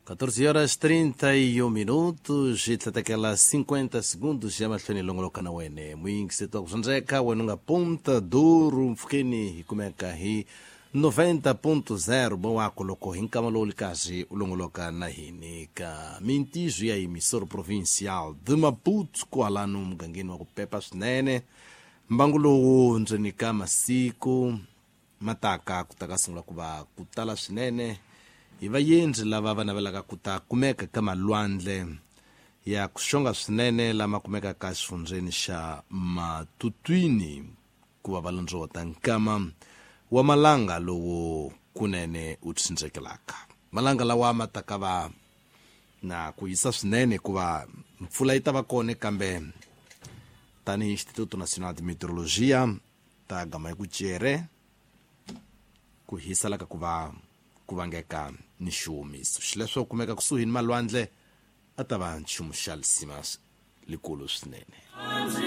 14 horas 31 minutos hi tlhatekela 50 segundos ya mahlweni longoloka na wene muyingiseti wa ku swandzeka wena u nga Ponta Duro mpfhukeni hi kumeka hi 90.0 bowako loko hi nkama lowu likazi u longoloka na hini ka mintizo ya emissora provincial de Maputo kwalano mugangeni wa ku pepa swinene. Mbangu lowu ndzeni ka masiku mataka ku ta ka sungula ku va ku tala swinene hi vayendzi lava va navelaka ku ta kumeka ka malwandle ya ku xonga swinene lama kumekaka exifundzeni xa Matutwini ku va va londzovota nkama wa malanga lowu kunene wu tsindzekelaka. Malanga lawa ma ta ka va na ku hisa swinene hikuva mpfula yi ta va kona, kambe tanihi Instituto Nacional de Meteorologia ta gama hi ku cere ku hisa laka ku va ku vangeka ni xiwomiso. Xileswo kumeka kusuhi ni malwandle a ta va nchumu xa lisima likulu swinene.